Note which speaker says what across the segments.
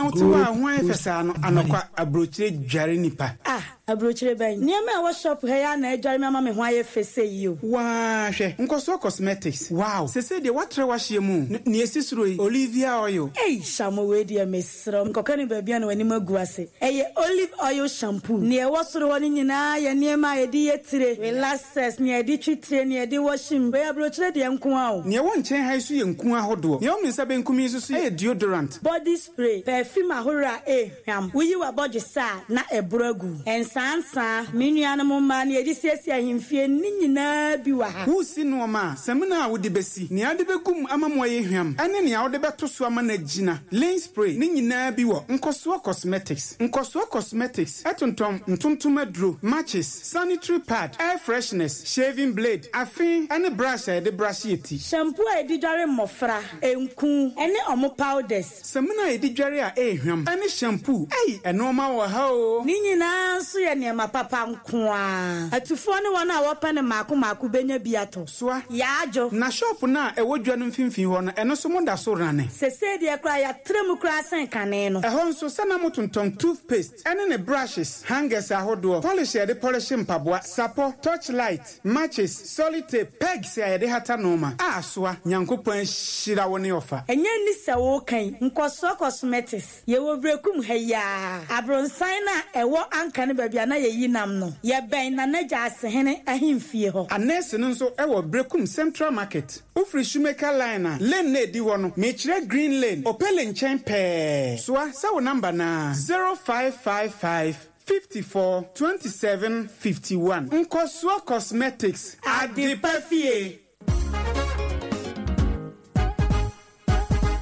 Speaker 1: Na wote hɔ a ho ayɛ fɛ saa no, anɔkwa, aburokyire dware nipa.
Speaker 2: Ah, aburokyire bɛn? Nneɛma a ɛwɔ shop ha yi ara na adware me ama me ho ayɛ fɛ sei yi o.
Speaker 1: Waa, hwɛ, Nkɔsoɔ Cosmetics, wow, sesei deɛ woatrɛ w'ahyeɛ mu o, nea ɛsi soro yi, Olivia Oil.
Speaker 2: Ei, Shamo wei deɛ mesrɛ wo, nkɔka no baabi a na w'anim agu ase. Ɛyɛ olive oil shampoo. Nea ɛwɔ soro hɔ no nyinaa yɛ nneɛma a yɛde yɛ tire, relaxers, nea yɛde twi tire, nea yɛde wɔhye mu. Wei aburokyire deɛ nko ara o.
Speaker 1: Nea ɛwɔ nkyɛn ha yi nso yɛ nku ahodoɔ. Nea ɛwɔ me nsa benkum yi nso so yɛ deodorant.
Speaker 2: Body spray, perfume ahorow a ɛrehwam. Woyi w'abɔdwesɛ a, na ɛboro agu. Nsaansaa, me nuanom mmaa, nea yɛde siesie ahemfie, ne nyinaa bi wɔ ha.
Speaker 1: Woresi nnoɔma a, samina a wode bɛsi, nea wode bɛgu mu ama mu ayɛ hwam, ne nea wode bɛto so ama no agyina, linen spray, ne nyinaa bi wɔ Nkɔsoɔ Cosmetics. Nkɔsoɔ Cosmetics tontɔn ntontom aduro, matches, sanitary pad, air fresheners, shaving blade, afe ne brush a yɛde brushe yɛ ti.
Speaker 2: Shampoo a yɛde dware mmɔfra, nku, ne wɔn powders.
Speaker 1: Samina a yɛde dware a ɛyɛ hwam ne shampoo. Ei, nnoɔma wɔ ha oo!
Speaker 2: Ne nyinaa nso yɛ nneɛma papa nko ara. Atufoɔ ne wɔn a wɔpɛ no mmaako mmaako bɛnya bi atɔ.
Speaker 1: Soa.
Speaker 2: Yaadwo.
Speaker 1: Na shop no a ɛwɔ dwa no mfimfini hɔ no, ɛno nso moda so rane?
Speaker 2: Sesei deɛ koraa yɛatra mu koraa sen kane no.
Speaker 1: Ɛhɔ nso, sɛ na motontɔn toothpaste ne ne brushes, hangers ahodoɔ, polish a yɛde pɔlehye mpaboa, sapɔ, torch light, matches, solitape, pegs a yɛde hata nnoɔma. A Soa, Nyankopɔn ahyira wo ne ɔfa.
Speaker 2: Ɛnyɛ nni sɛ woreka yi, Nkɔsoɔ Cosmetics, yɛwɔ Berekum ha yi ara, abronsan no a ɛwɔ Anka no baabi a na yɛyi nam no, yɛbɛn Nana Gyaasehene ahemfie hɔ.
Speaker 1: Anɛɛse no nso wɔ Berekum Central Market. Wofiri Shoemaker Line a, lane no a ɛdi hɔ no, mekyerɛ Green Lane, Opele nkyɛn pɛɛ. Soa sɛ wo number no ara, 0555 54 27 51. Nkɔsoɔ Cosmetics, Adepa Fie.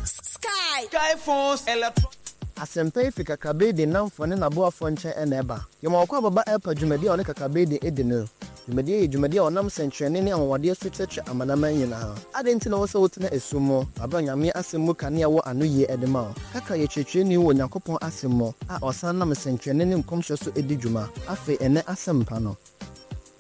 Speaker 3: Sky.
Speaker 4: Sky phones electronic.
Speaker 5: Asɛmpa yi fi Kakrabedin nnamfo ne n'aboafoɔ nkyɛn na ɛba. Yɛma wɔkɔ ababa ɛrepa dwumadi a ɔne Kakrabedin di no. Dwumadi yi yɛ dwumadi a ɔnam sɛnkyerɛnne ne anwanwadeɛ so kyerɛkyerɛ amanaman nyinaa. Adɛn nti na ɛwɔ sɛ wotena esum mu bere a Onyame Asɛm mu kanea wɔ anoyie de ma wo? Kakra yɛ kyerɛkyerɛni wɔ Onyankopɔn Asɛm mu a ɔsan nam nsɛnkyerɛnne ne nkɔmhyɛ so di dwuma. Afei ɛnnɛ Asɛmpa no.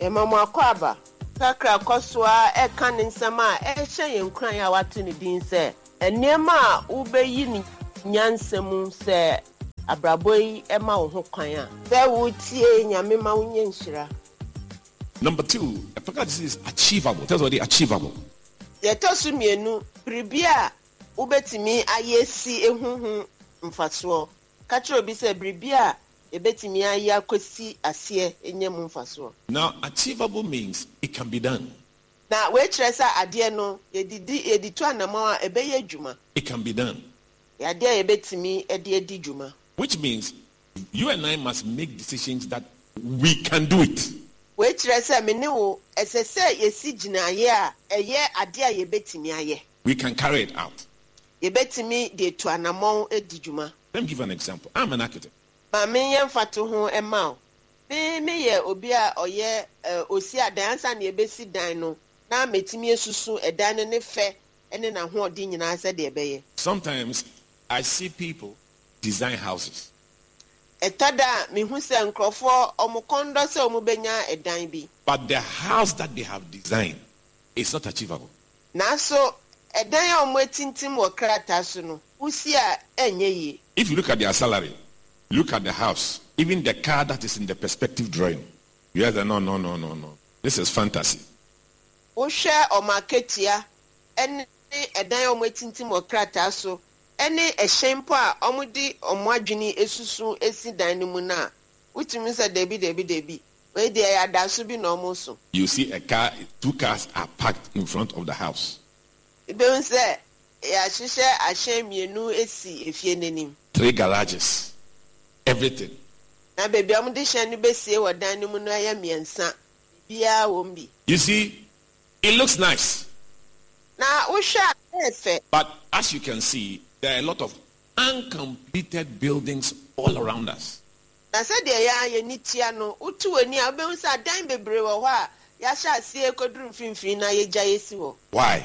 Speaker 6: Yɛma mo akwaaba. Kakra kɔ so ara ka ne nsɛm a ɛhyɛ yɛn nkuran a wato ne din sɛ, Nneɛma a Wubeyi no Nyansa Mu Sɛ Abrabɔ Yi Ma Wo Ho Kwan a. Sɛ Wutie Nyame Ma Wunya Nhyira.
Speaker 7: Number two, a practical decision is achievable. Tell somebody achievable.
Speaker 6: Deɛ ɛtɔ so mmienu, biribi a wobɛtumi ayɛ si ehu ho mfasoɔ. Ka kyerɛ obi sɛ biribi a yɛbɛtumi ayɛ akɔsi aseɛ anya mu mfasoɔ.
Speaker 7: Now, achievable means it can be done.
Speaker 6: Na wei kyerɛ sɛ adeɛ no, yɛde di, yɛde tu anamɔn a, ɛbɛyɛ adwuma.
Speaker 7: It can be done.
Speaker 6: Ɛyɛ adeɛ a yɛbɛtumi de adi dwuma.
Speaker 7: Which means you and I must make decisions that we can do it.
Speaker 6: Wei kyerɛ sɛ me ne wo, ɛsɛ sɛ yɛsi gyinaeɛ a ɛyɛ adeɛ a yɛbɛtumi ayɛ.
Speaker 7: We can carry it out.
Speaker 6: Yɛbɛtumi de atu anammɔn adi dwuma.
Speaker 7: Let me give you an example. I'm an architect.
Speaker 6: Ma menyɛ mfatoho mma wo. Me meyɛ obi a ɔyɛ osi adan. Ansa na yɛbɛsi dan no, na mɛtumi asusu ɛdan no ne fɛ ne n'ahoɔden nyinaa sɛdeɛ ɛbɛyɛ.
Speaker 7: Sometimes I see people design houses.
Speaker 6: Ɛtɔ da a, mehu sɛ nkurɔfoɔ, wɔn kɔn dɔ sɛ wɔbɛnya ɛdan bi.
Speaker 7: But the house that they have designed is not achievable.
Speaker 6: Nanso ɛdan a wɔatintim wɔ krataa so no, wusi a ɛnyɛ yie.
Speaker 7: If you look at their salary, look at the house, even the car that is in the perspective drawing, you realize that no, no, no, no, no, this is fantasy.
Speaker 6: Wohwɛ wɔn akatua ne ɛdan a wɔatintim wɔ krataa so ne ɛhyɛn mpo a wɔde wɔn adwene asusu asi dan no mu no a, wutumi hu sɛ dabi, dabi, dabi, wei deɛ ɛyɛ adaeso bi na wɔreso.
Speaker 7: You see a car, two cars are parked in front of the house.
Speaker 6: Wubehu sɛ yɛahyehyɛ ahyɛn mmienu asi efie no anim.
Speaker 7: Three garages, everything.
Speaker 6: Na baabi a wɔde hyɛn no besie wɔ dan no mu no yɛ mmiɛnsa, biribiara wom bi.
Speaker 7: You see, it looks nice.
Speaker 6: Na wohwɛ a, ɛyɛ fɛ.
Speaker 7: But as you can see, there are a lot of uncompleted buildings all around us.
Speaker 6: Na sɛdeɛ yɛn ara yɛn ani tua no, woto w'ani a, wobɛhu sɛ adan bebree wɔ hɔ a yɛahyɛ aseɛ rekɔduru mfimfini na yɛagyae asi hɔ.
Speaker 7: Why?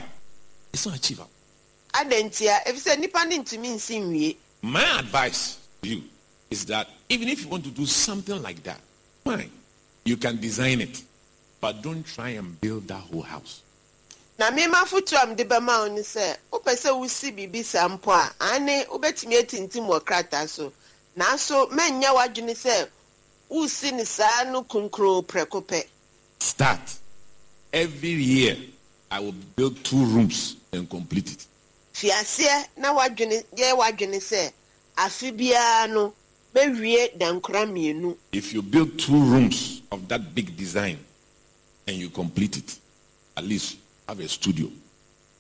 Speaker 7: It's not achievable.
Speaker 6: Adɛn ntia? Efisɛ nnipa no ntumi nsi nwie.
Speaker 7: My advice to you is that even if you want to do something like that, fine, you can design it, but don't try and build that whole house.
Speaker 6: Na mema foto a mede bɛma wo ne sɛ wopɛ sɛ wosi biribi saa mpo a, ane wobɛtumi atintim wɔ krataa so, nanso mɛnyɛ w'adwene sɛ wosi ne saa no kunkuroo prɛko pɛ.
Speaker 7: Start. Every year, I will build two rooms and complete it.
Speaker 6: Fi aseɛ na w'adwene yɛ w'adwene sɛ afe biara no mɛwie dankora mmienu.
Speaker 7: If you build two rooms of that big design and you complete it, at least you have a studio, you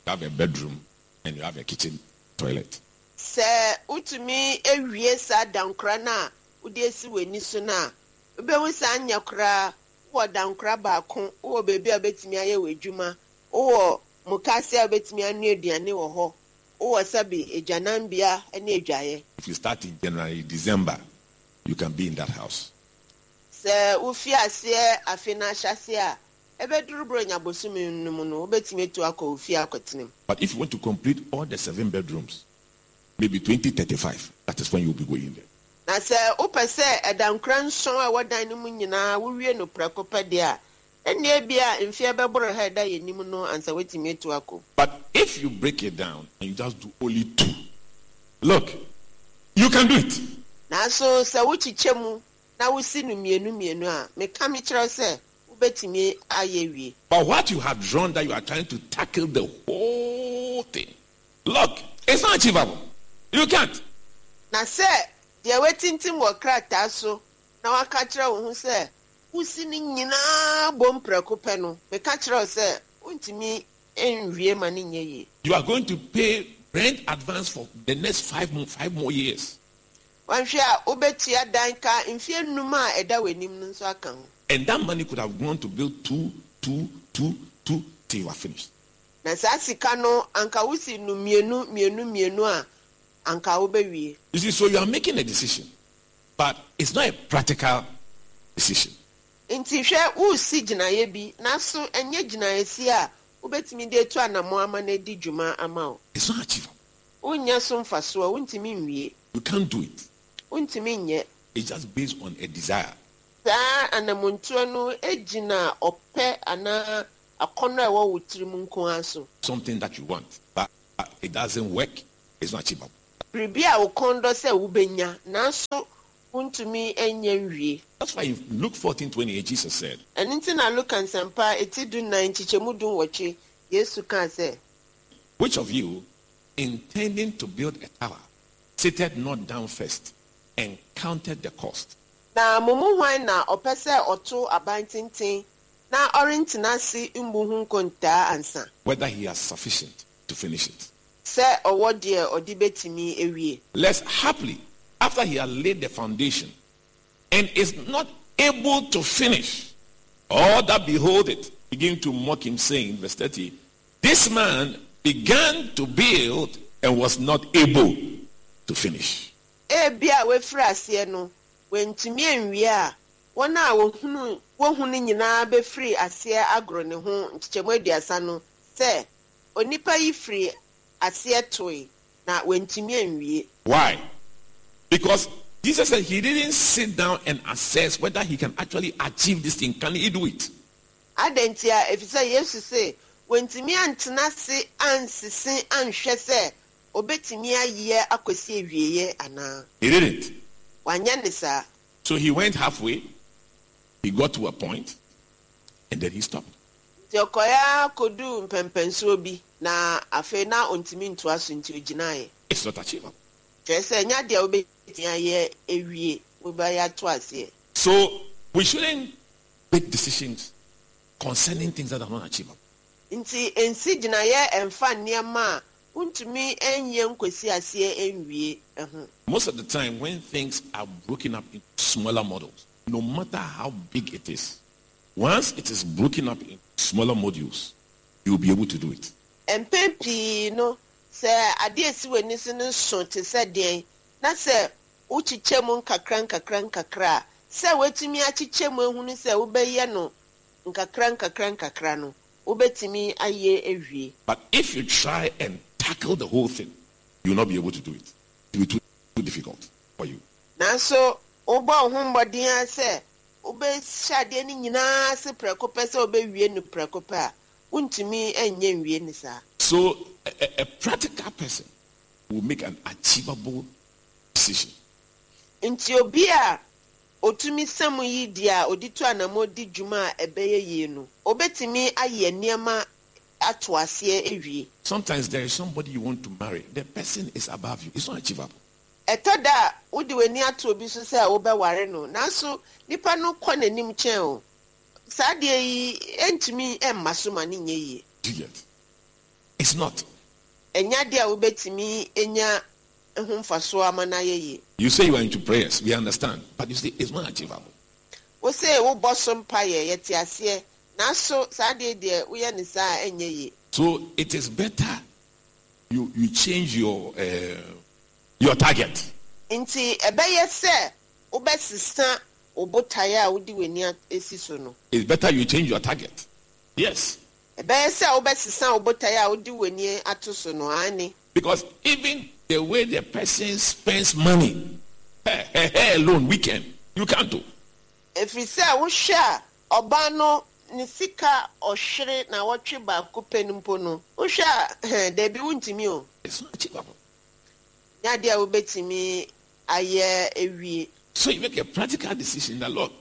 Speaker 7: have a bedroom, and you have a kitchen toilet.
Speaker 6: Sɛ wotumi awie saa dankora no a wode asi w'ani so no a, wobɛhu saa nyɛ koraa wowɔ dankora baako, wowɔ baabi a wobɛtumi ayɛ w'adwuma, wowɔ mukaase a wobɛtumi anoa aduane wɔ hɔ, wowɔ sɛbe agyananbea ne adwaeɛ.
Speaker 7: If you start in January, December, you can be in that house.
Speaker 6: Sɛ wofi aseɛ afe no ahyɛaseɛ a, ɛbɛduru Buronya bosome no mu no, wobɛtumi atu akɔ wo fie akɔtena mu.
Speaker 7: But if you want to complete all the 7 bedrooms, maybe 2035, that is when you'll be going there.
Speaker 6: Na sɛ wopɛ sɛ ɛdankora 7 a ɛwɔ dan no mu nyinaa wowie no prɛko pɛ deɛ a, ɛnneɛ bi a mfeɛ bɛboro ha ɛda yɛn anim no ansa woatumi atu akɔ.
Speaker 7: But if you break it down and you just do only 2, look, you can do it.
Speaker 6: Nanso sɛ wokyekyɛ mu na wosi no mmienu mmienu a, meka me kyerɛ sɛ wobɛtumi ayɛ wie.
Speaker 7: But what you have drawn that you are trying to tackle the whole thing, look, it's not achievable. You can't.
Speaker 6: Na sɛ deɛ woatintim wɔ krataa so na waka kyerɛ wo ho sɛ wosi no nyinaa bom prɛko pɛ no, meka kyerɛ wo sɛ wontumi nwie ma no nyɛ yie.
Speaker 7: You are going to pay rent advance for the next 5 more years.
Speaker 6: Wanhwɛ a wobɛtua dan ka mfeɛ 5 a ɛda w'anim no nso aka ho.
Speaker 7: And that money could have gone to build 2, 2, 2, 2 till you are finished.
Speaker 6: Na saa sika no anka wosi no mmienu mmienu mmienu a anka wobɛwie.
Speaker 7: You see, so you are making a decision, but it's not a practical decision.
Speaker 6: Nti hwɛ wosi gyinaeɛ bi, nanso ɛnyɛ gyinaeɛsi a wobɛtumi de atu anammɔn ama no adi dwuma ama wo.
Speaker 7: It's not achievable.
Speaker 6: Wonnya so mfasoɔ, wontumi nwie.
Speaker 7: You can't do it.
Speaker 6: Wontumi nyɛ.
Speaker 7: It's just based on a desire.
Speaker 6: Saa anammɔntuo no gyina ɔpɛ anaa akɔnnɔ a ɛwɔ wo tirim nko ara so.
Speaker 7: Something that you want, but it doesn't work, it's not achievable.
Speaker 6: Biribi a wo kɔn dɔ sɛ wobɛnya, nanso wontumi nyɛ nwie.
Speaker 7: That's why in Luke 14:28 Jesus said,
Speaker 6: Ɛno nti na Luka nsɛmpa eti 14 nkyekyɛmu 18 Yesu kaa sɛ,
Speaker 7: Which of you, intending to build a tower, sitteth not down first and counted the cost?
Speaker 6: Na mo mu hwan na ɔpɛ sɛ ɔto aban tenten na ɔrentena ase mmu ho nkontaa ansa?
Speaker 7: Whether he has sufficient to finish it.
Speaker 6: Sɛ ɔwɔ deɛ ɔde bɛtumi awie.
Speaker 7: Lest haply, after he had laid the foundation and is not able to finish, all that behold it begin to mock him, saying, verse 30, this man began to build and was not able to finish.
Speaker 6: Ebia wafiri aseɛ no, wantumi anwie a, wɔn a wohunu wohu no nyinaa bɛfiri aseɛ agoro ne ho nkyekyɛmu 30 no sɛ, onipa yi firi aseɛ toe na wantumi anwie.
Speaker 7: Why? Because Jesus said he didn't sit down and assess whether he can actually achieve this thing. Can he do it?
Speaker 6: Adɛn nti a ɛfiri sɛ Yesu se wantumi antena ase ansese anhwɛ sɛ obetumi ayɛ akɔsi awieeɛ anaa.
Speaker 7: He didn't.
Speaker 6: Wanyɛ ne saa.
Speaker 7: So he went halfway, he got to a point, and then he stopped.
Speaker 6: Nti ɔkɔeɛ akɔduu mpɛmpɛnsoɔ bi, na afei na ɔntumi ntoa so nti ogyinaeɛ.
Speaker 7: It's not achievable.
Speaker 6: Kyerɛ sɛ ɛnyɛ adeɛ a wobɛtumi ayɛ awie, wobɛyɛ ato aseɛ.
Speaker 7: So we shouldn't make decisions concerning things that are not achievable.
Speaker 6: Nti nsi gyinaeɛ ɛmfa nneɛma a wontumi nyɛ nkɔsi aseɛ nwie ho.
Speaker 7: Most of the time when things are broken up into smaller models, no matter how big it is, once it is broken up into smaller modules, you'll be able to do it.
Speaker 6: Mpɛn pii no, sɛ adeɛ esi w'ani so no so te sɛ deɛn, na sɛ wokyekyɛ mu nkakra nkakra nkakra a, sɛ woatumi akyekyɛ mu ehunu sɛ wobɛyɛ no nkakra nkakra nkakra no, wobɛtumi ayɛ awie.
Speaker 7: But if you try and tackle the whole thing, you'll not be able to do it. It will be too difficult for you.
Speaker 6: Nanso wobɔ wo ho mmɔden ara sɛ wobɛhyɛ adeɛ no nyinaa ase prɛko pɛ sɛ wobɛwie no prɛko pɛ a, Wontumi nyɛ nwie ne saa.
Speaker 7: So a practical person will make an achievable decision.
Speaker 6: Nti obi a otumi sɛm yi deɛ a odi to anamɔ di dwuma a ɛbɛyɛ yie no, obetumi ayɛ nneɛma ato aseɛ awie.
Speaker 7: Sometimes there is somebody you want to marry. The person is above you. It's not achievable.
Speaker 6: Ɛtɔ da a wode w'ani ato obi so sɛ wobɛware no, nanso nipa no kɔ n'anim kyɛn o. Saa adeɛ yi ntumi mma so ma ne nyɛ yie.
Speaker 7: Do you get? It's not.
Speaker 6: Ɛnyɛ adeɛ a wobɛtumi anya ho mfasoɔ ama no ayɛ yie.
Speaker 7: You say you are into prayers, we understand. But you see, it's not achievable.
Speaker 6: Wo se wobɔ so mpaeɛ, yɛte aseɛ, nanso saa adeɛ deɛ woyɛ ne saa a ɛnyɛ yie.
Speaker 7: So it is better you change your target.
Speaker 6: Nti ɛbɛyɛ sɛ wobɛsesa wo botaeɛ a wode w'ani esi so no.
Speaker 7: It's better you change your target. Yes.
Speaker 6: Ɛbɛyɛ sɛ wobɛsesa wo botaeɛ a wode w'ani ato so no, aane.
Speaker 7: Because even the way the person spends money, hey, hey, alone, weekend, you can't do.
Speaker 6: Ɛfiri sɛ wohwɛ a ɔbaa no ne sika ɔhwere na wɔtwe baako pɛ no mpo no, wohwɛ a dabi, wontumi o.
Speaker 7: It's not achievable.
Speaker 6: Nyɛ adeɛ a wobɛtumi ayɛ awie.
Speaker 7: So you make a practical decision that, look,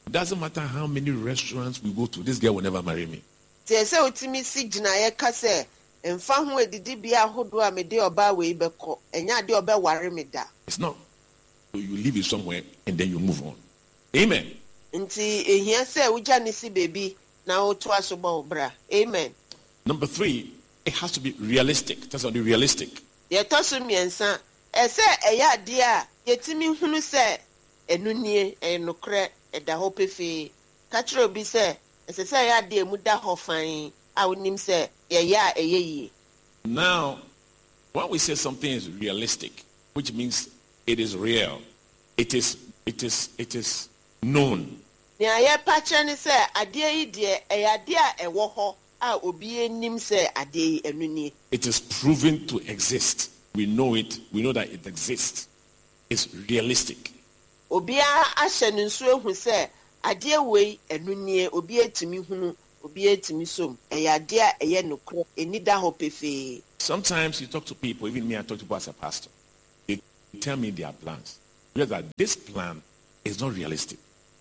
Speaker 7: it doesn't matter how many restaurants we go to, this girl will never marry me.
Speaker 6: Nti ɛsɛ wotumi si gyinaeɛ ka sɛ mfa ho adidibea ahodoɔ a mede ɔbaa wei bɛkɔ, ɛnyɛ adeɛ a ɔbɛware me da.
Speaker 7: It's not. So you leave it somewhere and then you move on. Amen.
Speaker 6: Nti ehia sɛ wogya ne si baabi na wotoa so bɔ wo bra. Amen.
Speaker 7: Number 3, it has to be realistic. That's not realistic.
Speaker 6: Deɛ ɛtɔ so mmiɛnsa, ɛsɛ ɛyɛ adeɛ a yɛtumi hunu sɛ ɛno nie, ɛyɛ nokorɛ, ɛda hɔ pefee. Ka kyerɛ obi sɛ ɛsɛ sɛ ɛyɛ adeɛ a emu da hɔ fann a wonim sɛ yɛyɛ a ɛyɛ yie.
Speaker 7: Now, when we say something is realistic, which means it is real, it is known.
Speaker 6: Nea yɛpa kyerɛ ne sɛ adeɛ yi deɛ ɛyɛ adeɛ a ɛwɔ hɔ a obi anim sɛ adeɛ yi ɛno nie.
Speaker 7: It is proven to exist. We know it. We know that it exists. It's realistic.
Speaker 6: Obiara ahyɛ ne nso ehu sɛ adeɛ wei ɛno nie, obi etumi hunu, obi etumi som. Ɛyɛ adeɛ a ɛyɛ nokorɛ, eni da hɔ pefee.
Speaker 7: Sometimes you talk to people, even me, I talk to people as a pastor. They tell me their plans. Because that this plan is not realistic.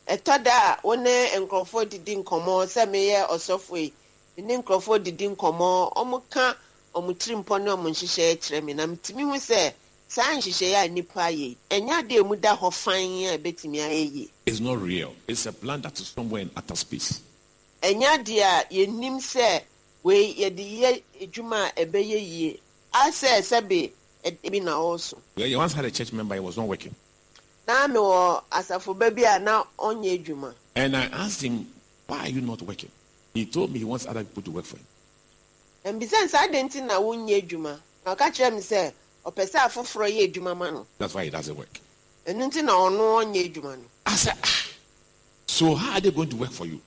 Speaker 6: Ɛtɔ da a wo ne nkurɔfoɔ didi nkɔmmɔ sɛ meyɛ ɔsɔfo yi, me ne nkurɔfoɔ didi nkɔmmɔ, ɔmo ka ɔmo tirimpɔ ne ɔmo nhyehyɛeɛ kyerɛ me na metumi hu sɛ saa nhyehyɛeɛ a nnipa ayɛ yi, ɛnyɛ adeɛ a emu da hɔ fann a ɛbɛtumi ayɛ yie.
Speaker 7: It's not real. It's a plan that is somewhere in outer space.
Speaker 6: Ɛnyɛ adeɛ a yɛnim sɛ wei yɛde yɛ adwuma a ɛbɛyɛ yie asɛ sɛbe bi na ɔreso.
Speaker 7: You once had a church member, he was not working.
Speaker 6: Na mewɔ asafo ba bi a na ɔnyɛ adwuma.
Speaker 7: And I asked him, why are you not working? He told me he wants other people to work for him.
Speaker 6: Mbisa nsa adɛn nti na wonyɛ adwuma, na ɔka kyerɛ me sɛ ɔpɛ sɛ afoforɔ yɛ adwuma ma no.
Speaker 7: That's why he doesn't work.
Speaker 6: Ɛno nti na ɔno ɔnyɛ adwuma no.
Speaker 7: I said, so how are they going to work for you?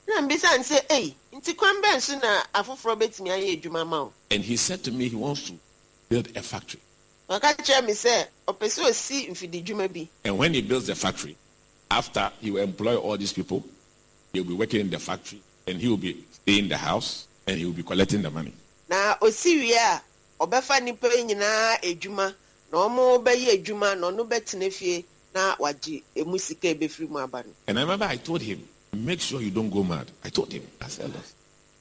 Speaker 6: Na mbisa n sɛ, ei, nti kwan bɛn so na afoforɔ bɛtumi ayɛ adwuma ma wo?
Speaker 7: And he said to me he wants to build a factory.
Speaker 6: Na ɔka kyerɛ me sɛ ɔpɛ sɛ osi mfididwuma bi.
Speaker 7: And when he builds the factory, after he will employ all these people, they'll be working in the factory, and he will be staying in the house, and he will be collecting the money.
Speaker 6: Na osi wie a, ɔbɛfa nnipa yi nyinaa adwuma na ɔmo bɛyɛ adwuma na ɔno bɛtena fie na wagye emu sika ebɛfiri mu aba no.
Speaker 7: And I remember I told him, make sure you don't go mad. I told him, I said, look.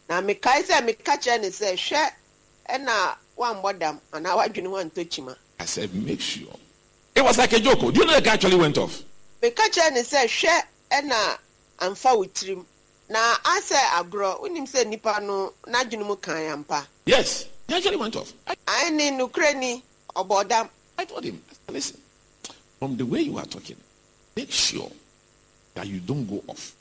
Speaker 6: Na mekae sɛ meka kyerɛ ne sɛ hwɛ ɛna woambɔ dam anaa woadwene ho antɔ kyima.
Speaker 7: I said, make sure. It was like a joke. Do you know the guy actually went off?
Speaker 6: Meka kyerɛ ne sɛ hwɛ ɛna amfa wo tirim na asɛ agorɔ, wonim sɛ nnipa no n'adwene mu kan ampa.
Speaker 7: Yes, he actually went off.
Speaker 6: Ae ne nokorɛ ni, ɔbɔ dam.
Speaker 7: I told him, I said, listen, from the way you are talking, make sure that you don't go off.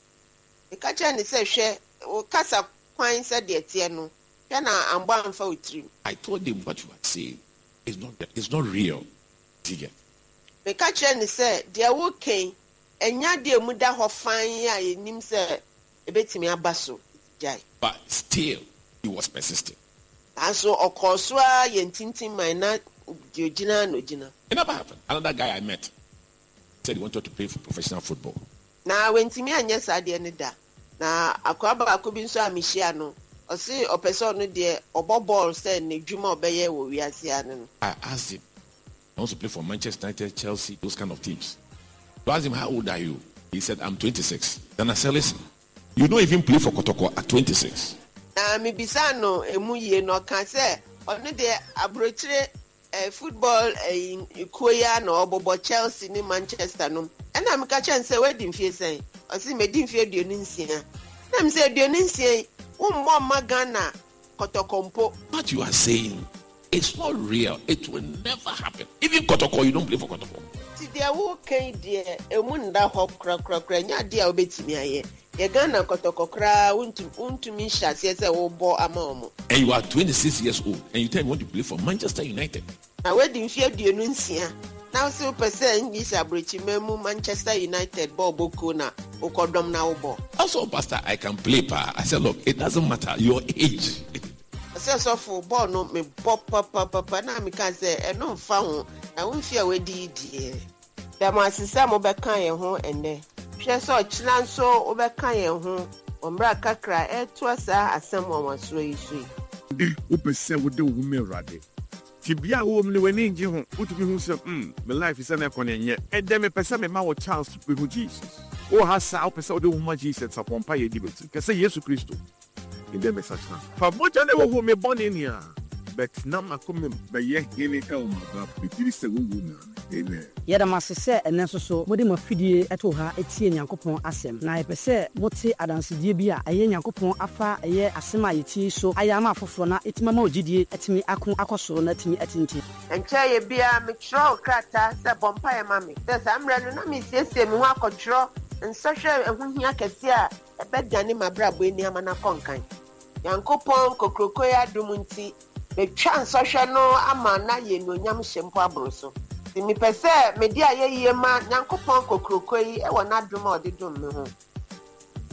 Speaker 6: Meka kyerɛ ne sɛ hwɛ wo kasa kwan sɛdeɛ teɛ no, hwɛ na ambɔ amfa wo tirim.
Speaker 7: I told him what you are saying is not real. Do you get?
Speaker 6: Meka kyerɛ ne sɛ deɛ wokan ɛnyɛ adeɛ a mu da hɔ fann a yɛnim sɛ ebɛtumi aba so, gyae.
Speaker 7: But still, he was persisting.
Speaker 6: Nanso ɔkɔɔ so a yɛ ntintim man na deɛ ogyina na ogyina.
Speaker 7: It never happened. Another guy I met said he wanted to play for professional football.
Speaker 6: Na wantumi anyɛ saa adeɛ no da. Na akoa baako bi nso a mehyia no, Ɔse ɔpɛ sɛ ɔno deɛ ɔbɔ bɔɔl sɛ n'adwuma a ɔbɛyɛ wɔ wiase ano no.
Speaker 7: I asked him, he wants to play for Manchester United, Chelsea, those kind of teams. So I asked him, how old are you? He said, I'm 26. Then I said, listen, you don't even play for Kotoko at 26.
Speaker 6: Na mebisaa no emu yie na ɔka sɛ ɔno deɛ aburokyire eh, football eh, kuo yi ara na ɔbɔbɔ Chelsea ne Manchester nom. Ɛna meka kyerɛ no sɛ wadi mfie sɛn? Ɔse madi mfie 26. Na me sɛ 26 yi, wommɔ mma Ghana Kɔtɔkɔ mpo.
Speaker 7: What you are saying is not real. It will never happen. Even Kotoko, you don't play for Kotoko.
Speaker 6: Nti deɛ woreka yi deɛ, emu nda hɔ korakorakora, ɛnyɛ adeɛ a wobɛtumi ayɛ. Yɛ Ghana kɔtɔkɔ koraa wontumi nhyɛ aseɛ sɛ wobɔ ama wɔn.
Speaker 7: And you are 26 years old and you tell me you want to play for Manchester United.
Speaker 6: Na woadi mfeɛ 26 na wose wopɛ sɛ English aborɔkyiman mu Manchester United bɔɔlbɔ kuo na wokɔdɔm na wobɔ.
Speaker 7: Also, Pastor, I can play paa. I said, look, it doesn't matter your age.
Speaker 6: Ɔsɛ sɔfo bɔɔl no mebɔ papapapa na meka sɛ ɛno mfa ho na wo mfeɛ a woadi yi deɛ. Da mo ase sɛ mobɛka yɛn ho ɛnnɛ. Hwɛ sɛ ɔkyena nso wobɛka yɛn ho wɔ mmerɛ a kakra ɛretoa saa asɛm nwanwasoɔ yi so yi.
Speaker 3: Nnɛ, wopɛ sɛ wode wo ho ma Awurade? Tebea a wowɔ mu no, w'ani nnye ho? Wotumi hu sɛ, hmm, me life sɛnea ɛkɔ no ɛnyɛ. Ɛnnɛ, mepɛ sɛ mema wo chance behu Jesus. Wowɔ ha saa a, wopɛ sɛ wode wo ho ma Jesus a, bɔ mpaeɛ di m'akyi. Ka sɛ, Yesu Kristo, Ndɛ mesakyera. Fa mogya no hohoro me bɔne nyinaa. Bɛtena m'akoma mu. Bɛyɛ hene wɔ m'abrabɔ. Megyedi sɛ wo wu na. Amen.
Speaker 4: Yɛda mo ase sɛ ɛnnɛ nso so mode mo afidie too ha tie Nyankopɔn asɛm. Na yɛpɛ sɛ mote adansedie bi a ɛyɛ Nyankopɔn afa ɛyɛ asɛm a yɛtie yi so ayɛ ama afoforɔ na ɛtumi ama wo gyidie atumi ako akɔ soro na atumi atintim.
Speaker 6: Ɛnkyɛeɛ biara metwerɛɛ krataa sɛ bɔ mpaeɛ ma me sɛ saa mmerɛ no na meresiesie me ho akɔtwerɛ nsɔhwɛ a ɛho hia kɛseɛ a ɛbɛdane m'abrabɔ ani ama no akɔ nkan. Nyankopɔn kokroko yi adom nti, matwa nsɔhwɛ no ama no ayɛ anuonyam hyɛ mpo aboro so. Nti mepɛ sɛ mede ayɛyie ma Nyankopɔn kokroko yi wɔ n'adom a ɔde dom me ho.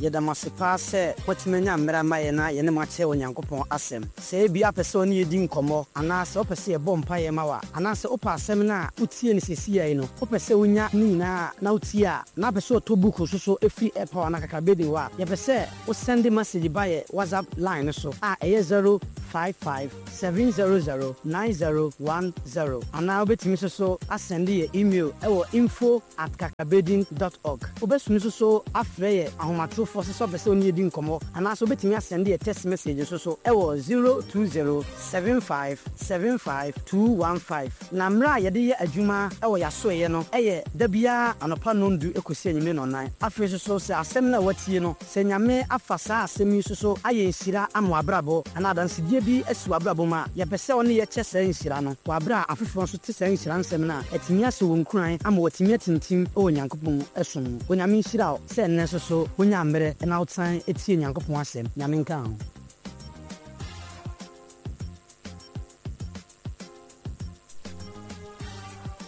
Speaker 4: Yɛda mo ase paa sɛ moatumi anya mmerɛ ama yɛn na yɛne mo akyɛ Onyankopɔn asɛm. Sɛ ebia wopɛ sɛ wo ne yɛn di nkɔmmɔ, anaa sɛ wopɛ sɛ yɛbɔ mpaeɛ ma wo a, anaa sɛ wopɛ asɛm no a wotie no seesei yi no, wopɛ sɛ wonya ne nyinaa a na wotie a, na wopɛ sɛ wɔtɔ book nso so firi Airpower anaa Kakrabedin hɔ a, yɛpɛ sɛ wo sɛnde message ba yɛ WhatsApp line no so a ɛyɛ 055 700 9010 anaa wobɛtumi nso so asɛnde yɛ email wɔ info at kakrabedin dot org. Wobɛsumi nso so afrɛ yɛ ahomatorofoɔ sɛ sɛ wopɛ sɛ wo ne yɛ di nkɔmmɔ anaasɛ wobɛtumi asɛnde yɛ text message nso so wɔ 020 75 75 215. Na mmerɛ a yɛde yɛ adwuma wɔ yɛn asoɛeɛ no yɛ da biara anɔpa nnɔndu kɔsi anwummere nnɔnnan. Afei nso so sɛ asɛm no a woatie no, sɛ Nyame afa saa asɛm yi nso so ayɛ nhyira ama w'abrabɔ anaa adansedie bi asi w'abrabɔ mu a, yɛpɛ sɛ wo ne yɛ kyɛ saa nhyira no wɔ aberɛ a afoforɔ nso te saa nhyira nsɛm no a, atumi ahyɛ wɔn nkuran ama wɔatumi atintim wɔ Nyankopɔn som mu. Onyame nhyira wo sɛ nnɛ nso so wonyaa mmerɛ na wosan tie Nyankopɔn asɛm. Nyame nka ho.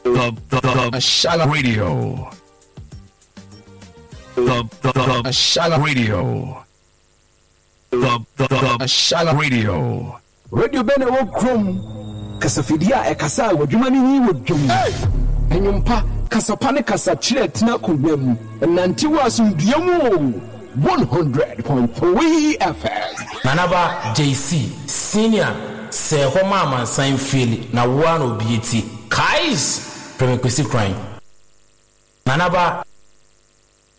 Speaker 8: The, the, Ashala Radio. The, the, Ashala Radio. The, the, Ashala Radio.
Speaker 9: Radio bɛn na ɛwɔ kurom? Kasafidie a ɛkasa a w'adwuma no nyi wɔ dwom. Nnwom pa, kasa pa ne kasa kyerɛ tena akonnwa mu. Nante wɔ asomdwoeɛ mu o. 100.3 FM.
Speaker 10: Nanaba JC, Senior, sɛɛ hɔ ma amansan feeli na wo ara na obi atie. Kaiss! Frɛ me Kwesi Kran. Nanaba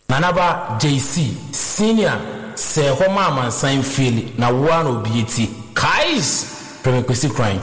Speaker 10: Nanaba JC, Senior, sɛɛ hɔ ma amansan feeli na wo ara na obi atie. Kaiss! Frɛ me Kwesi Kran.